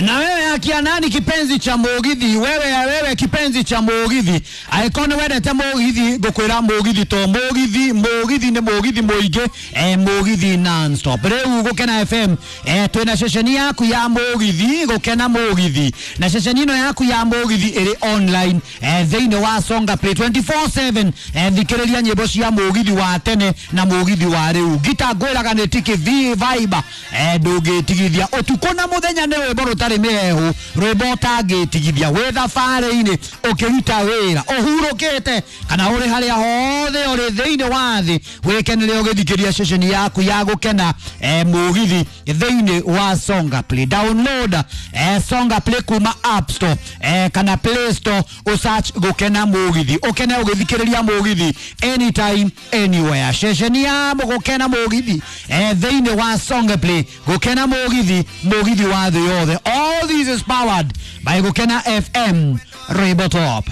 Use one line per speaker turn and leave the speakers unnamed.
Na wewe akia nani kipenzi cha mugithi? Wewe kipenzi cha mugithi, angĩkorwo nĩ wendete mugithi, ngũkwĩra mugithi to mugithi, mugithi nĩ mugithi mũingĩ, mugithi non-stop. Rĩu Gũkena FM, twĩna ceceni yaku ya mugithi, Gũkena Mugithi, na ceceni ĩno yaku ya mugithi ĩrĩ online, thĩinĩ wa Songa Play 24/7. Thikĩrĩria nyĩmbo cia mugithi wa tene na mugithi wa rĩu. Ngita ngwĩraga nĩ tiki vibe, ndũngĩtigithia ũtukũ na mũthenya, nĩ rwĩmbo rũtarĩ mĩhehu, rwĩmbo ũtangĩtigithia wĩ thabarĩ-inĩ, ũkĩruta wĩra, ũhurũkĩte, kana ũrĩ harĩa hothe ũrĩ thĩinĩ wa thĩ, wĩkenere ũgĩthikĩria ceceni yaku ya Gũkena Mũgithi thĩinĩ wa Songa Play. Download Songa Play kuma App Store kana Play Store, ũsearch Gũkena Mũgithi, ũkene ũgĩthikĩrĩria mũgithi anytime, anywhere. Ceceni ya Gũkena Mũgithi thĩinĩ wa Songa Play, Gũkena Mũgithi, mũgithi wa thĩ yothe. All this is powered by Gũkena FM, Rwĩmbo Top.